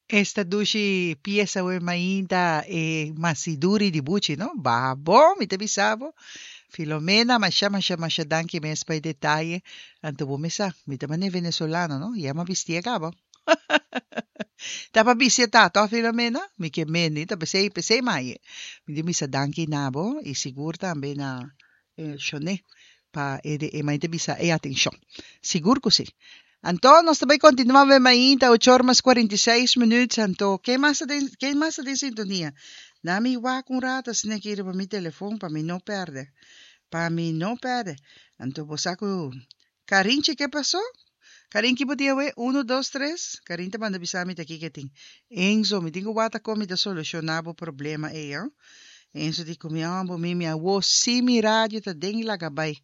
Esta dushi piesa we mainta e masiduri di buchi no ba bo mi ta bisa bo Filomena masha masha masha danki mes pa e detaye anto bo mesa mi ta mane venezolano no ya m'a bisti e caba ta pa bisti e ta to Filomena mi ke meni ta pesey pesey maye mi di bisa danki na bo y sigur tambe na e Shone pa e de e mainta bisa e atencion sigur cu si. Anto nos ta bai kontinuá be mainta ocho or mas 46 minuut. Anto ken mas ta den ken mas ta den sintonia? Na mi wak un rato asina aki riba mi telefon pa mi no pèrdè. Pa mi no pèrdè. Anto bo sa ku Karinchi ke pasó? Karin ki bo tin awe? Uno dos tres? Karin ta manda bisa mi ta kiko e tin. Enzo mi tin ku wak ta kon mi ta solushoná bo problema ei oh. Enzo di ku mi oh bo mi mi awo si mi radio ta den laga bai.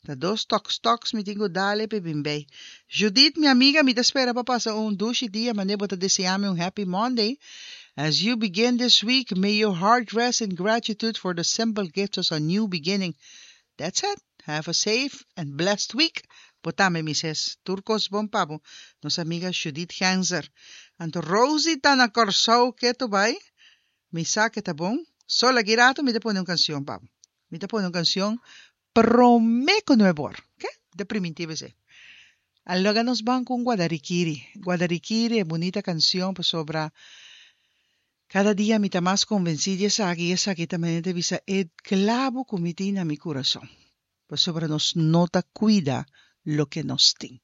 Ta dos toks toks mi tin ku dale p'e bin bei. Judith, mi amiga, mi ta spera pa pasa un dushi dia manera bo ta desea mi un happy Monday. As you begin this week, may your heart rest in gratitude for the simple gift of a new beginning. That's it. Have a safe and blessed week. Bo tambe, mi ses. Tur kos bon pa bo. Nos amiga Judith Genzer. Anto Rosie ta na Kòrsou ketu bai. Mi sa ke ta bon. So lag'i rato mi ta pone un kansion pa bo. Mi ta pone un kansion Promé ku nuebor, ke? Ta primintí esei. A loga nos ban ku un Guadarikiri. Guadarikiri e bunita kansion pasobra kada dia mi ta mas konvensí di esaki i esaki ta manera ta bisa e klabu ku mi tin na mi kurason. Pasobra nos no ta kuida loke nos tin.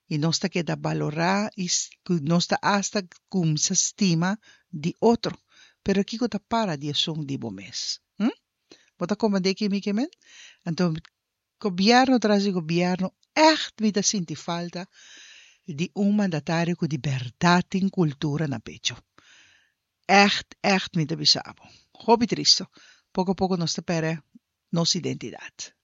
I nos ta keda balorá i nos ta asta kumsa stima di otro. Pero kiko ta para di esun di bo mes? Hm? Bo ta komprendé ki mi ke men? Anto gobièrnu tras di gobièrnu ègt mi ta sinti falta di un mandatario ku di bèrdat tin kultura na pecho. Ègt ègt mi ta bisa bo. Hopi tristo. Poko poko nos ta pèrdè nos identidat.